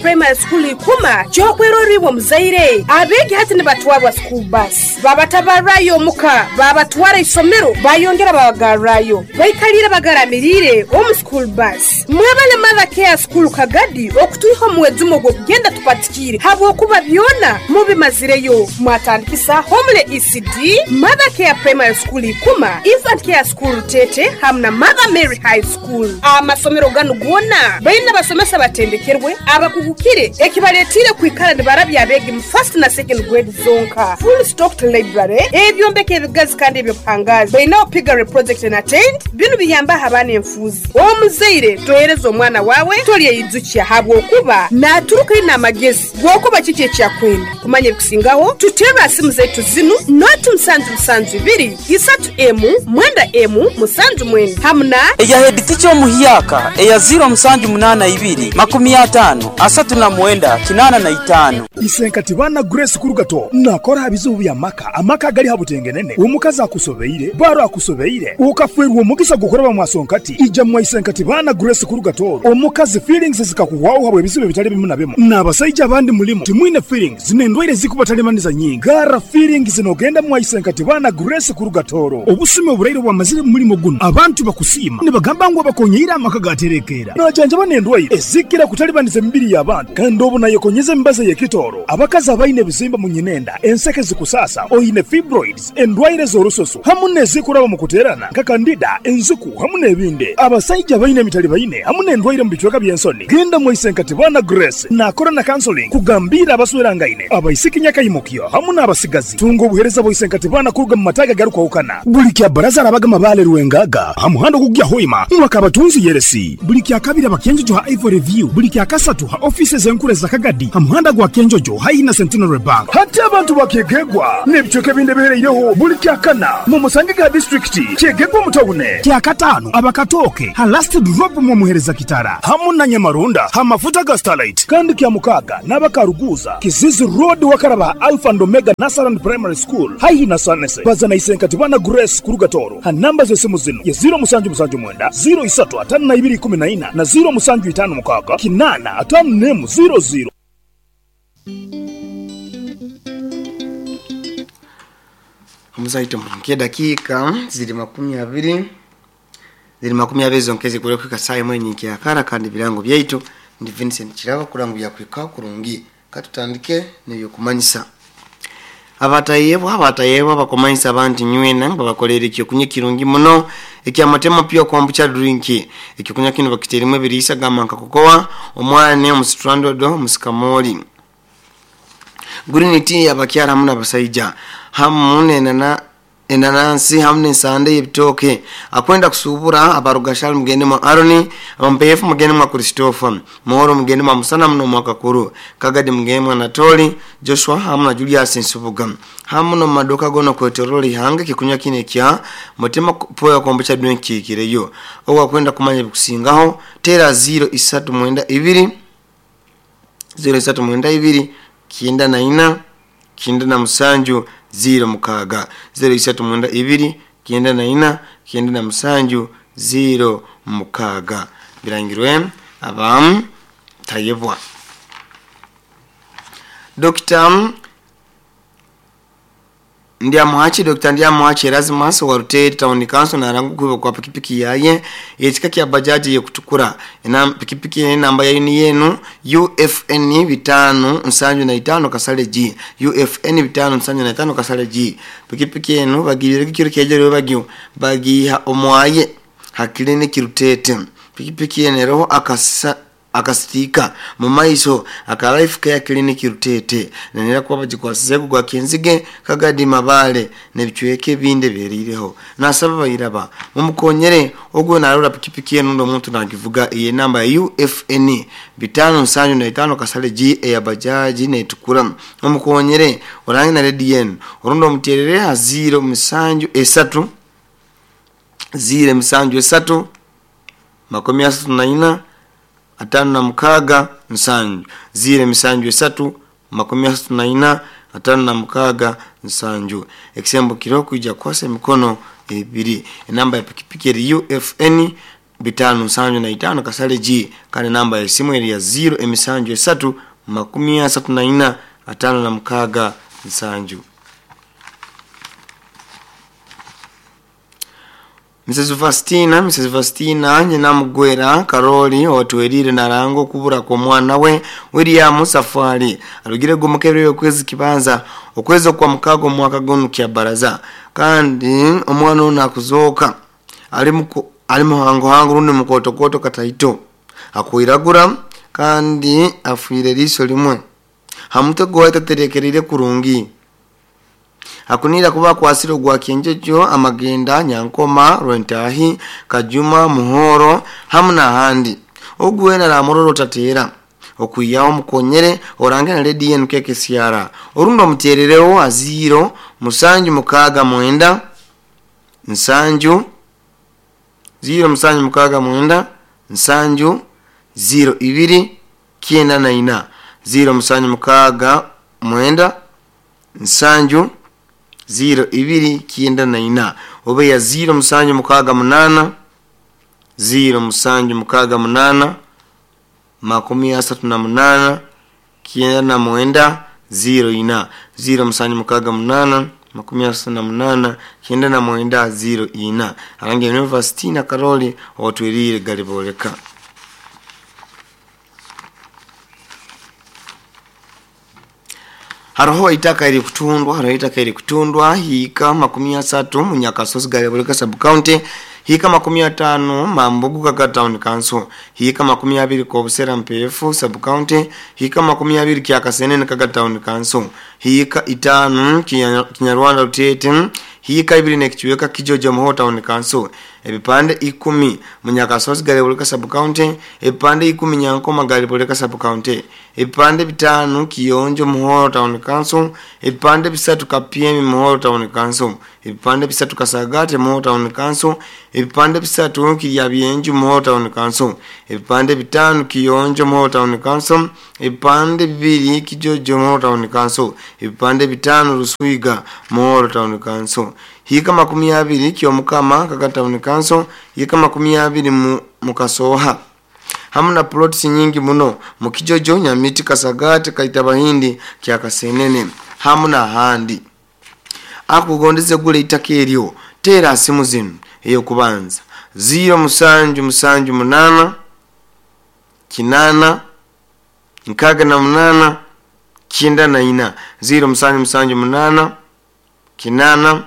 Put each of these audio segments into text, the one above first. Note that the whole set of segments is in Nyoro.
Primary School Ikuma ky'okwerorra iwe omuzaire. Abeegi hati nibatwarwa school bus, babatabarrayo omuka, babatwara isomero, bayongera babagarrayo. Baikaliire bagaramiriire omu school bus. Mwebale Mother Care School Kagadi okutwiha omu mwejumo gw'okugenda tupatikiire habwokuba byona mubimazireyo. Mwatandikisa Homely ECD, Mother Care Primary School Ikuma, Infant Care School Rutete hamu na Mother Mary High School. Amasomero ganu goona baine abasomesa abatendekerwe, abakugukire ekibaletiire kwikara nibarabya abeegi mu first na second grade zonka. Full stocked library, ebyombeko ebigazi kandi eby'obuhangaazi. Bainaho piggery project na tent, binu biyambaho abaana enfuuzi. Omuzaire tohereza omwana waawe tolyeyijukya habwokuba naaturuka aine amagezi g'okuba kiki eki akwenda. Kumanya ebikusingaho, tuterre ha simu zaitu zinu, noti musanju musanju ibiri, isatu emu, mwenda emu, musanju mwenda hamu na. Eya headteacher omuhyaka eya ziiro musanju munaana ibiri, makumi ataano, asatu na mwenda, kinaana na itaano. Isenkati baana Grace Kurugato nakora aha bizibu by'amaka, amaka agali ha butengenene, omukazi akusobeire, baro akusobeire, okafeerwa omugisa gw'okuraba mwasonkati, ija mwa Isenkati baana Grace Kurugato, omukazi feelings zikakuhwaho habw'ebizibu ebitali bimu na bimu, n'abasaija abandi mulimu timwine feelings n'endwaire ezikubatalibaniza nyingi, garra feelings n'ogenda mwa Isenkati baana Grace Kurugatoro. Obusumi oburaire obwamazire mu mulimo gunu, abantu bakusiima nibagamba ngu abakonyeire amaka gaterekeera. Najanjaba n'endwaire ezikira kutalibaniza emibiri y'abantu kandi obu nayekonyeza emibazi ey'ekitooro. Abakazi abaine ebizimba mu nyinenda, enseke zikusaasa, oine fibroids, endwaire z'orususu hamu n'ezikuraba omu kuteerana nka kandida, enziku hamu n'ebindi. Abasaija abaine emitalibaine hamu n'endwaire omu bicweka by'ensoni, genda mwaise Bwana Grace naakora na counseling kugambiira abaswerangaine, abaisiki nyakaimukyo hamu n'abasigazi. Tunga obuheereza bwa Isenkatibana kuruga mu mataagi agarukwahukana. Buli kya Baraza arabaga Mabaale Rwengaga ha muhanda ogukugya Hoima mwaka Abatunzi Yeresi. Buli kya Kabiri aba Kyenjojo ha Ivory View. Buli kya Kasatu ha ofiisi ez'enkuru eza Kagadi ha muhanda gwa Kyenjojo haihi na Centenary Bank. Hati abantu ba Kyegegwa n'ebicweka ebindi ebihereireho buli kya Kana mumusangege ha disiturikiti Kyegegwa omu tawune. Kya Kataano aba Katooke ha Last Drop mwomuhereza Kitara hamu na Nyamarunda ha mafuta ga Starlight. Kandi kya Mukaaga n'aba Karuguuza, Kizizi Road wakaraba ha Alpha and Omega Nursery and Primary School haihi na Sanese. Baza na Isenkatibana Grace kuruga Tooro ha namba z'esimu zinu ye ziiro musanju musanju mwenda, ziiro isatu ataano na ibiri ikumi na ina na ziiro musanju itaano mukaaga kinaana ataano n'emu ziiro ziiro. Omuzaito nk'edakiika ziri 20 ziri 20 zonka ezikura kuhika saaha emwe nyenkyakara kandi ebirango byaitu ndi Vincent Kirabo kurora ngu byakuhikaho kurungi. Katutandike n'ebyokumanyisa. Abatayebwa abatayebwa bakumanyisa abantu nywena ngu babakoleire ekyokunywa ekirungi muno ekya Matema Pure Kombucha Drink. Ekyokunywa kinu bakiteiremu ebiriisa gamba nka kokoa, omwani, omusitrandodo, omusikamooli, green tea abakyara hamu n'abasaija hamu n'enana enanansi hamu n'ensande y'ebitooke. Akwenda kusuubura abarugashali mugende mwa Aroni, abampeefu mugende mwa Christopher, Muhoro mugende mwa Musana muno mwa Kakuru, Kagadi mugende mwa Anatoli, Joshua hamu na Julius Nsubuga. Hamu n'omu maduuka goona okwetoroora ihanga ekikunywa kinu ekya Mutima Poya Kombucha Drink kiikireyo. Ogu akwenda kumanya ebikusingaho, teera ziiro isatu mwenda ibiri, ziiro isatu mwenda ibiri, kyenda na ina, kyenda na musanju, ziiro mukaaga. Ziiro isatu mwenda ibiri, kyenda na ina, kyenda na musanju, ziiro mukaaga. Birangirwe aba Tayebwa. Dokita Ndyamuhaki Dr. Ndyamuhaki Erasmus wa Rutete Town Council naranga okuhibwa kwa pikipiki yaye ey'ekika kya Bajaj ey'okutukura. Ena pikipiki enu enamba yayo niyo enu UFN bitano nsanju na itano kasale G UFN bitano nsanju na itano kasale G. Pikipiki enu bagiibire ekiro kyegyo bagyo bagiiha omwaye ha clinic Rutete. Pikipiki enu eroho akasa akasitiika mu maiso aka Life Care Clinic Rutete nenera kuba bagikwasizeeku gwa Kenzige, Kagadi, Mabaale n'ebicweka ebindi ebihereireho. Nasaba bairaba mumukonyere ogwo narora pikipiki enu rundi omuntu nagivuga ey'enamba ya UFN bitano nsanju na itano kasale G eya bajaji netukura mumukonyere orange na rediyo enu orundi omuterere ha ziiro musanju esatu ziiro emisanju esatu 34 56 7 ziiro emisanju esatu 34 56 7. Ekisembo kiro kwija kukwasa emikono ebiri. Enamba ya pikipiki eri UFN bitano nsanju na itano kasale G kandi namba ya simu eri ya 0 emisanju esatu 34 56 7. Mrs. Vastina nyina mugwera Karoli otwerire narango kubura kwa mwana we William Safari arugire gumukebere okwezi kibanza okwezi kwa mukago mwaka gonu kya baraza kandi omwana ono akuzoka ali muhango hango rundi mukotokoto kataito akwiragura kandi afwire liso limwe hamutwe gwaita terekerire kurungi akunira kuba kwasiro gwa kenjejo amagenda nyankoma rwentahi kajuma muhoro hamna handi ogwena la mororo tatera okuyawo mukonyere orangana ledi yenu keke siara orundo muterereo aziro musanju mukaga mwenda nsanju 0 musanju mukaga mwenda nsanju 0 ibiri kienda na ina 0 musanju mukaga mwenda nsanju 0 ibiri kienda na ina obe ya 0 musanju mukaga munana 0 musanju mukaga munana 38 kienda na mwenda 0 ina 0 musanju mukaga munana 38 kienda na mwenda 0 ina arange University na Karoli otwirire galiboleka. Haroho itaka iri kutundwa, haroho itaka iri kutundwa, hika 30 munyakasozi galiboleka sub county, hika 50 mambugu kaka town council, hika 20 kobusera mpefu sub county, hika 20 kyakasenene kaka town council, hika 5 Kinyarwanda Rutete, hika 2 nekichweka Kijojo Muho town council, ebipande 10 munyakasozi galiboleka sub county, ebipande 10 Nyankoma galiboleka sub county, ebipande 5 Kiyonjo Muhoro town council, ebipande 3 Kapyemi Muhoro town council, ebipande 3 Kasagate Muhoro town council, ebipande 3 Kiryabyenju Muhoro town council, ebipande 5 Kiyonjo Muhoro town council, ebipande 2 Kijojo Muhoro town council, ebipande 5 Ruswiga Muhoro town council, hika 20 Kyomukama kaka town council, hika 20 Mukasoha. Hamna plots nyingi muno mukijojo Nyamiti Kasagate Kaitabahindi Kyakasenene hamna handi. Akugondeze gule itaka eryo tera simu zinu eyo kubanza 0 musanju musanju munana kinana nkaga na munana kinda na ina 0 musanju musanju munana kinana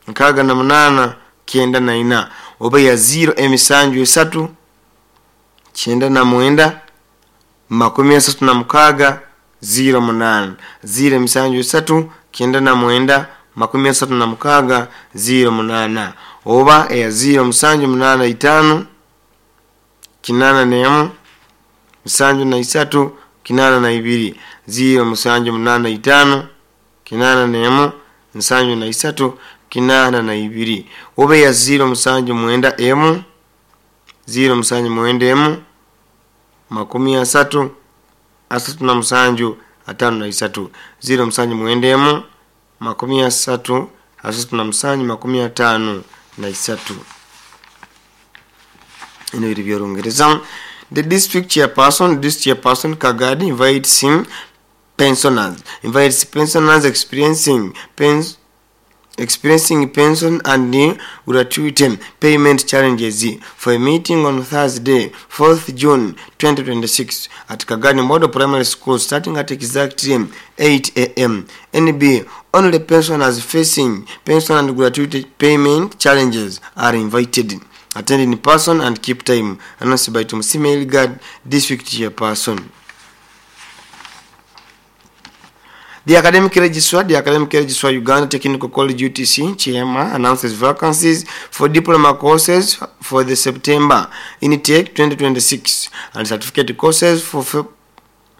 nkaga na munana kenda na ina oba ya 0 emisanju esatu kyenda na mwenda 36 08 0 emisanju esatu kyenda na mwenda 36 08 oba eya 0 musanju munana itano kinana nemu musanju na isatu kinana na ibiri 0 musanju munana itano kinana nemu musanju na isatu kinana na ibiri oba ya 0 musanju mwenda emu 0 musanju mwenda emu 30 37 53 0 musanju mwenda emu 30 37 53. Ino iri by'Olungereza. The district chairperson Kagadi invites him pensioners experiencing pension and gratuity payment challenges for a meeting on Thursday, 4th June 2026 at Kagadi Model Primary School starting at exactly 8 a.m. NB, only pensioners facing pension and gratuity payment challenges are invited. Attend in person and keep time. Announced by Tumusime Ilgad, District Chairperson. The Academic Registrar Uganda Technical College UTC Chairman announces vacancies for diploma courses for the September intake 2026 and certificate courses for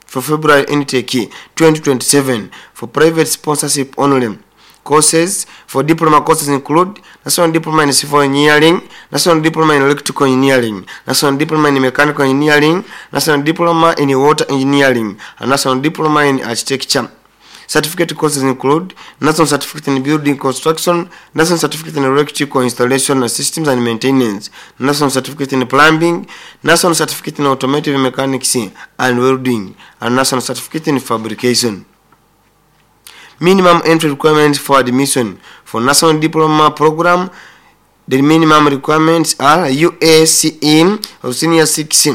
February intake 2027 for private sponsorship only. Courses for diploma courses include National Diploma in Civil Engineering, National Diploma in Electrical Engineering, National Diploma in Mechanical Engineering, National Diploma in Water Engineering, and National Diploma in Architecture. Certificate courses include National Certificate in Building Construction, National Certificate in Electrical Installation Systems and Maintenance, National Certificate in Plumbing, National Certificate in Automotive Mechanics and Welding, and National Certificate in Fabrication. Minimum entry requirements for admission for National Diploma Program. The minimum requirements are UACE of Senior 6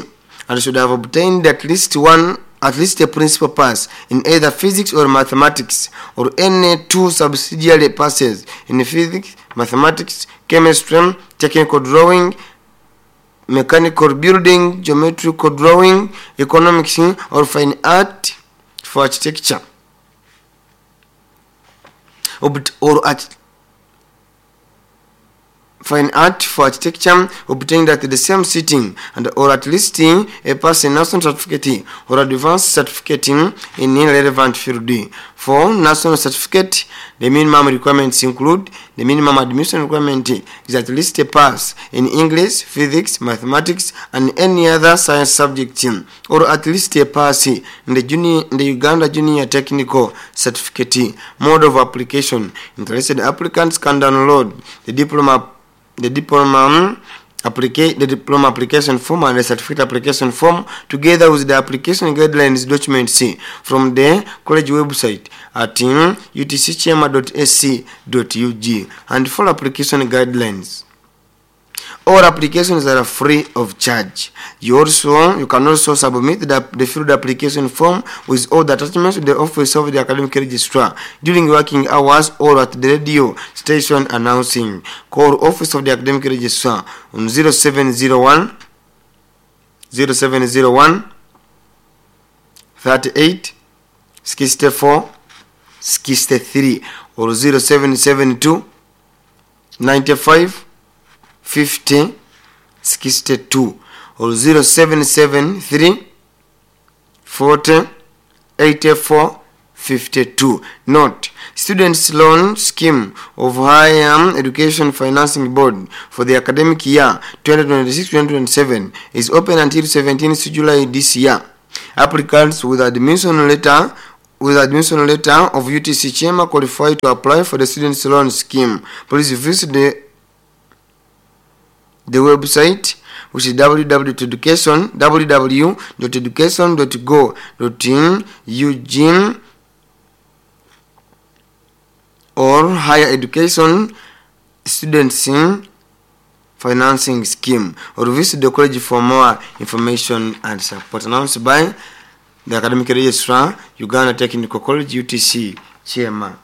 and should have obtained at least a principal pass in either physics or mathematics, or any two subsidiary passes in physics, mathematics, chemistry, technical drawing, mechanical building, geometrical drawing, economics, or fine art for architecture, or fine art for architecture obtained at the same sitting, and or at least a pass in national certificate or advanced certificate in relevant field. For national certificate, the minimum requirements include the minimum admission requirement is at least a pass in English, physics, mathematics, and any other science subject, or at least a pass in the Uganda Junior Technical Certificate. Mode of application: interested applicants can download the diploma application form and the certificate application form together with the application guidelines document C from the college website at utckyema.ac.ug and follow application guidelines. All applications are free of charge. You can also submit the filled application form with all the attachments to the office of the academic registrar during working hours or at the radio station announcing. Call office of the academic registrar on 0701 0701 38 64 63 or 0772 95 50 62 or 0773 40 84 52. Note, Students Loan Scheme of Higher Education Financing Board for the academic year 2026-2027 is open until 17th July this year. Applicants with admission letter of UTC Kyema qualify to apply for the Students Loan Scheme. Please visit the website, which is www.education.go.in or Higher Education Students Financing Scheme, or visit the college for more information and support. Announced by the Academic Registrar, Uganda Technical College, UTC Kyema.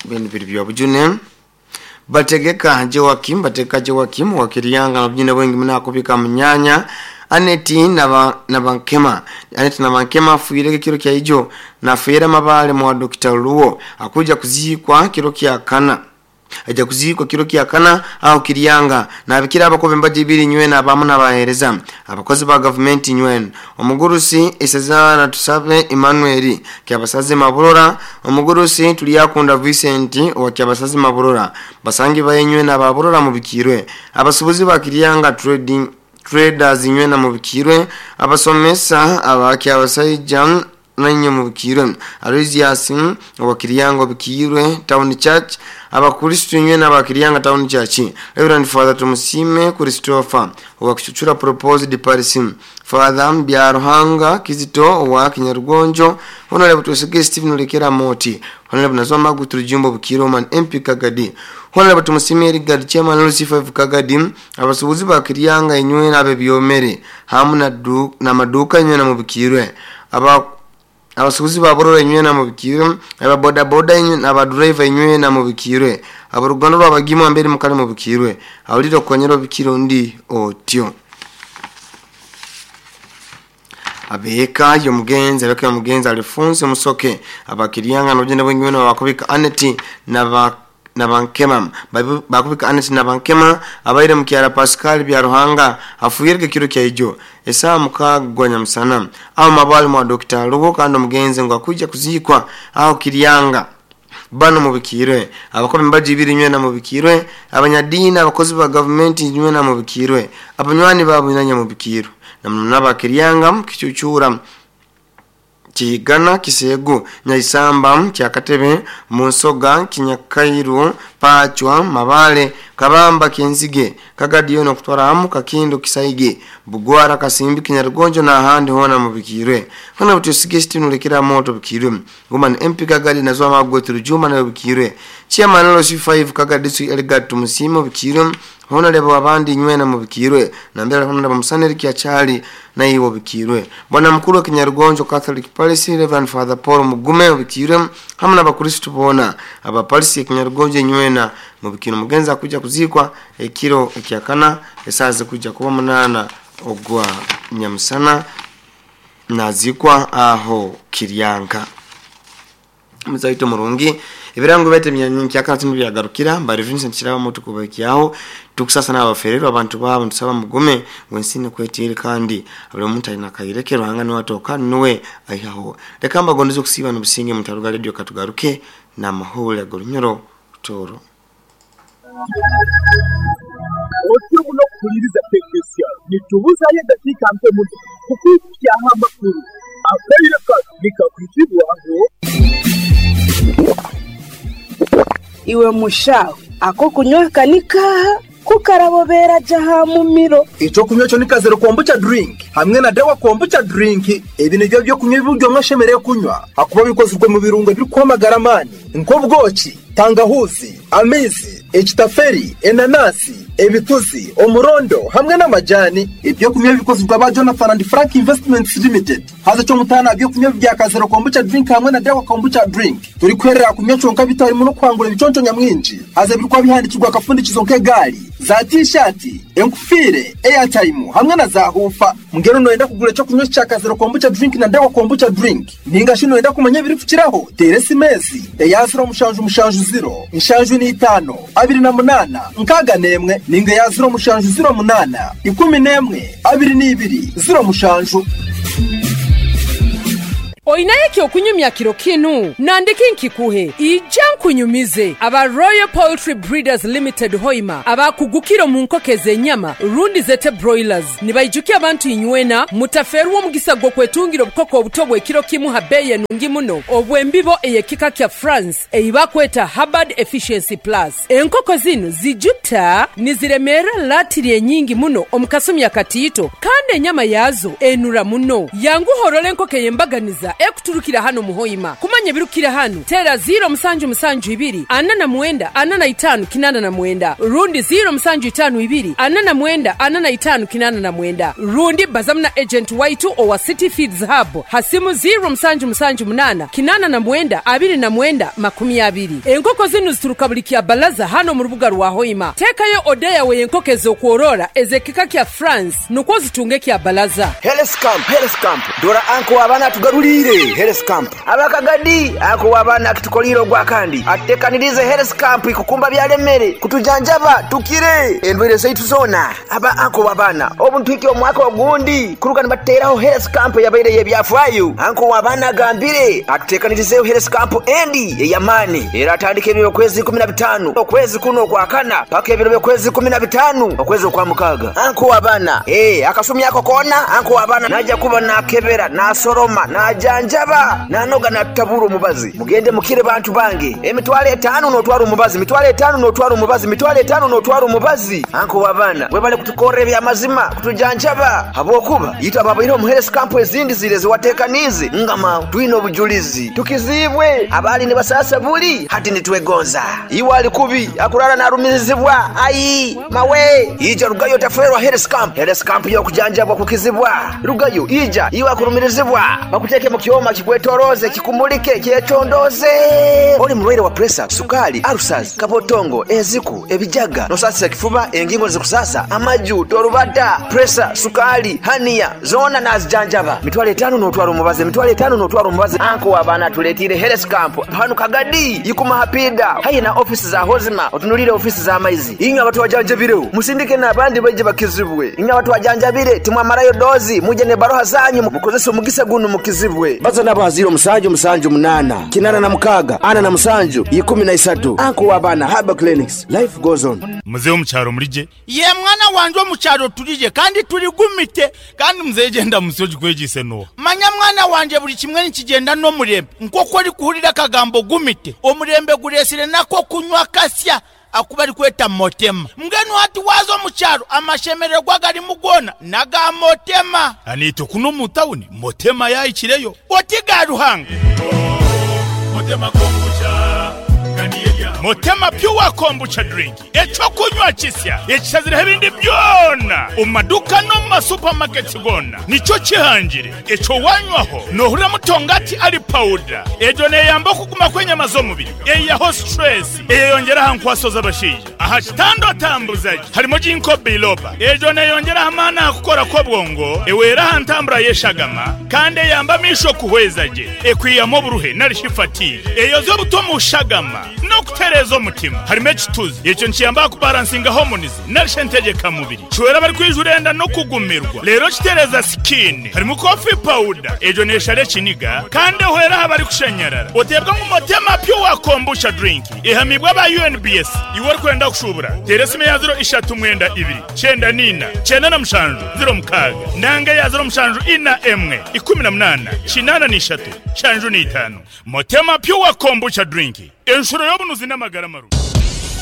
Bujune bategeka Joakim wakirianga na bujune wengi mna kupika mnyanya Aneti na bankema afuireke kiro kya ijo na fuira mabale mwa Dr. Luo akuja kuzikwa kiro kya kana aja kuzikwa kiro kya kana au kirianga na abikira abakobe mbaji biri nywe na abamu na bahereza abakozi ba government nywe omugurusi Isezana Tusabe Emmanuel kyabasaze Maburora omugurusi Tuliyakunda Vincent wa kyabasaze Maburora basangi bayenywe na baburora mubikirwe abasubuzi ba Kirianga trading traders nywe na mubikirwe abasomesa abakyabasaija nanyo mubikirwe Aloysius wa Kirianga bikirwe Town Church abakristo nywe na bakirianga Town Church Reverend Father Tumusime Christopher wa Kichuchura Proposed Paris Father Byaruhanga Kizito wa Kinyarugonjo Honorable Tusige Stephen Lekera Moti Honorable Nazoma Guturujumbo Bukiro Man MP Kagadi Honorable Tumusime Richard Chairman LC5 Kagadi abasubuzi bakirianga inywe na bebyomere hamu na maduka nywe na mubikirwe abasubuzi baborora inywe na mubikirwe aba boda boda inywe na aba driver inywe na mubikirwe abarugano rwabagimo ambere mukale mubikirwe awuliro konyero bikiro ndi otyo abeka yomugenzi abeka yomugenzi Alphonse Musoke abakirianga n'obugenda bwengwe bakubika Aneti na bankema bakubika Aneti na bankema abaire mukyara Pascal Byaruhanga afuyireke kiro kya ijo esaa mukagwanya musana aho mabali mwa Dr. Lugo kandi omugenzi ngo akuja kuzikwa aho Kirianga bano mubikirwe abakobe mbaji ibiri nywe na mubikirwe abanyadini abakozi ba government nywe na mubikirwe abanywani babo nyanya mubikirwe namna bakirianga kichuchura Kihigana, Kiseegu, Nyaisamba, Kyakatebe, Munsoga, Kinyakairu, Pachwa, Mabale, Kabamba, Kenzige, Kagadiyo n'okutwara hamu Kakindo, Kisaige, Bugwara, Kasimbi, Kinyarugonjo n'ahandi hoona mubikirwe. Hona butusige sitini ulekera moto bikirwe. Woman MP Kagadi nazwa magwe Juma nayo bikirwe. Chairman LC5 Kagadi District Elgard Tumusimo bikirwe. Hona lebo abandi nywena mubikirwe. Na mbele hona lebo musaneri kiachali na iwo bikirwe. Bwana mkuru wa Kinyarugonjo Catholic Parish Reverend Father Paul Mugume bikirwe. Hamwe n'abakristo bona aba Parish ya Kinyarugonjo nywena mubikirwe. Mugenza kuja kuzikwa ekiro ekyakana esaze kuja kuba 8 ogwa nyamusana nazikwa aho Kiryanka. Muzaito murungi ibirango bete myanyinki tinu byagarukira mbari Vincent Kiraba mutu kubakiyaho tukusasa n'abaferero abantu babo ntusaba mugume wensine kwetiri kandi abali omuntu alina kayireke ruhanga niwe atoka niwe ayihaho. Reka mbagondeze okusiba n'obusinge mutaruga radio katugaruke na mahule agolunyoro toro. Otyo muno kukuliriza tekinisiya nitubuzayo eddakiika mpe muno kukuukyaho amakulu akaire kano nikakuzibwaho. Iwe mushaho ako kunywa kanikaha kukarabobera jaha mumiro. Icyo kunywa cyo ni kazero kombucha drink hamwe na dawa kombucha drink. Ebi nibyo byo kunywa ibiryo mwashemereye kunywa hakuba bikozwe mu birungo biri kwamagara amani nk'ubwoki, tangahuzi, amizi, ekitaferi, enanasi, ebituzi, omurondo hamwe n'amajani. Ibyo kunywa bikozwe ba Jonathan and Frank Investments Limited. Haza cyo mutana byo kunywa bya kazero kombucha drink hamwe na dawa kombucha drink. Turi kwerera kunywa cyonka bitari mu no kwangura ibiconco nyamwinji. Haza birikwa bihandikirwa akafundikizo nk'egari za t-shirt, enkufire, airtime hamwe na za hufa. Mungero noenda kugura cyo kunywa cya kazero kombucha drink na dawa kombucha drink. Ninga shino enda kumanya biri kukiraho. Teresi mezi ya 0 mushanju mushanju 0 inshanju ni 5 28 6 ninga ya 0 mushanju 0 8 11 22 0 mushanju. Oinaye okunyumya kiro kinu nandiki nkikuhe ija nkunyumize aba Royal Poultry Breeders Limited Hoima abakugukiro mu nkokeze enyama rundi zete broilers nibaijukia abantu inywena mutaferuwo mugisa gwo kwetungira obukoko obutobwe kiro kimu habeye nungi muno obwembibo eyekika kya France eibakweta Hubbard Efficiency Plus. Enkoko zino zijuta niziremera latiri enyingi muno omukasumi akatiito kandi enyama yazo enura muno. Yangu horole enkoko yembaganiza ekuturukira hano muhoima. Kumanya birukira hano tera 0 musanju musanju 2 49 45 89 rundi 0 musanju 5 2 49 45 89 rundi bazamna agent waitu owa City Feeds Hub hasimu 0 musanju musanju 8 89 29 20. Enkoko zinu zituruka buli kya balaza hano mu rubuga rwa Hoima. Tekayo odeya we enkoko ez'okworora ezekika kya France nukwo zitunge kya balaza. Health camp, health camp. Dora anko abana tugarulire health camp. Abakagadi ako abana kitukoliro gwa kandi atekanirize health camp ikukumba byalemere kutujanjaba tukire endwere zaitu zona. Aba anko wabana obuntu iki omwaka ogundi kuruka nibateraho health camp yabaire yebyafwayo. Anko wabana gambire atutekanirize health camp endi eyamani era atandike ebiro kwezi 15 okwezi kuno kwa kana paka ebiro kwezi 15 okwezi kwa mukaga. Anko wabana akasumi yako kona anko wabana naja kuba nakebera nasoroma najanjaba nanoga natabura omubazi. Mugende mukire bantu bange emitwalo 5 notwara omubazi, mitwalo 5 notwara omubazi, mitwalo 5 notwara omubazi. Anko wabana webale kutukora ebyamazima kutujanjaba habwokuba yita babaire omu health camp ezindi zire ziwatekanize ngama twine obujulizi tukizibwe abali ne basasa buli hati nitwegonza iwe ali kubi akurara narumizibwa ai mawe ija rugayo taferwa health camp. Health camp yo kujanjabwa kukizibwa rugayo ija iwe akurumirizibwa bakuteke mu kyoma kikwetoroze kikumulike kyetondoze. Oli mulwaire wa pressure, sukali, ulcers, kabotongo, eziku, ebijaga, nosasa kifuba, engingo zikusasa, amaju, torubata, pressure, sukali, hania, zona nazijanjaba. Mitwalo 5 notwara omubazi, mitwalo 5 notwara omubazi. Anko abana tuletire health camp hanu Kagadi yikuma hapida hayi na ofisi za Hozima otunulire ofisi za maizi. Inyo abantu wajanjabire musindike n'abandi baje bakizibwe. Inyo abantu wajanjabire timwamarayo dozi muje ne baroha zanyu mukozese omugisa guno mukizibwe. Baza nabo 0 musanju musanju 8 86 47 13. Anko wabana Haba Clinics, life goes on. Mzee omukyalo mulije ye mwana wanje omukyalo tulije kandi tuligumite kandi mzee genda musoji kwegise no manya mwana Mwana wangye buri kimwe nikigyenda n'omurembe. Nk'oku orikuhurira akagambo gumite, omurembe gureetsire n'ak'okunywa kasya aku barikweta Motema. Mbwenu hati waaza omu kyaro amashemererwa agarimu goona n'aga Motema. Naitwe kunu omu tauni Motema yaahikireyo. Oti ga Ruhanga! Motema Pure Kombucha Drink, eky'okunywa kisya ekishazireho ebindi byona omu maduuka n'omu ma supermarkets goona nikyo kihangire. Ekyo wanywaho nohurira mutongati ari pawuda. Egyo neyamba okuguma kw'enyama z'omubiri, eyihaho stress, eyeyongyera aha nkwaso z'abashaija. Aha kitanda otambuza gye harimu Ginkgo biloba. Egyo neyongyera aha maani aha kukora kw'obwongo, ehwera aha ntambura y'eshagama kandi eyamba amaisho kuhweza gye, ekwihamu oburuhe nari shi fatigue, eyoza obuta omu shagama n'okutereeza omutima. Harimu ekituzi, ekyo nikiyamba aha kubaransinga hormones nari shi entegyeka mubiri. Kihwera abarikwijura enda n'okugumirwa reero kitereeza sikiini. Harimu coffee powder, egyo neeshara ekiniga kandi ehwera aha barikushanyarara. Oteebwa ngu Motema Pure Kombucha Drink ehamiibwe aba UNBS. Iwe orikwenda kushuubura, teera esimu eya ziro ishatu mwenda ibiri, kyenda n'ina, kyenda na mushanju, ziro mukaaga nanga eya ziro mushanju ina emwe, ikumi na munaana, kinaana n'ishatu, nshanju n'itaano. Motema Pure Kombucha Drink, enshuro y'obunuzi n'amagara marungi.